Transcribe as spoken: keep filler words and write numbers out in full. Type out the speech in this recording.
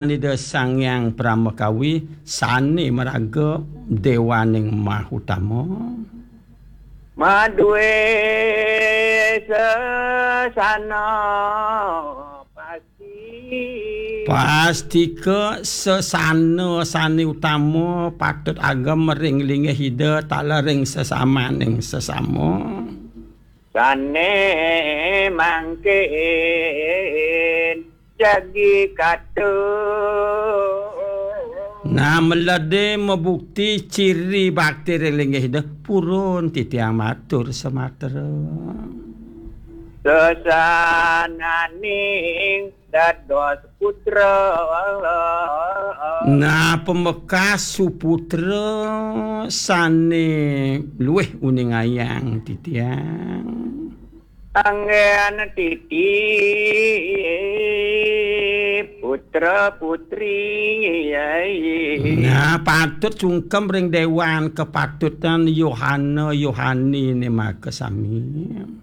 Ida Sang Hyang Pramakawi sane maraga dewaning mahutama. Maduwe sesana pasti. Pastika sesana sane utama patut agem ring linggih Ida taler ring sesamaning sesama. Sane mangkin jagi katu. Nah, melede mabukti ciri bakti ring linggih Ida, purun titiang matur sematra. Sesananing dados putra. Nah, pamekas suputra sane luih uningayang titiang. Anggen titi putra putri. Nah, patut sungkem ring dewan kepatutan Yohana Yohanine makasami.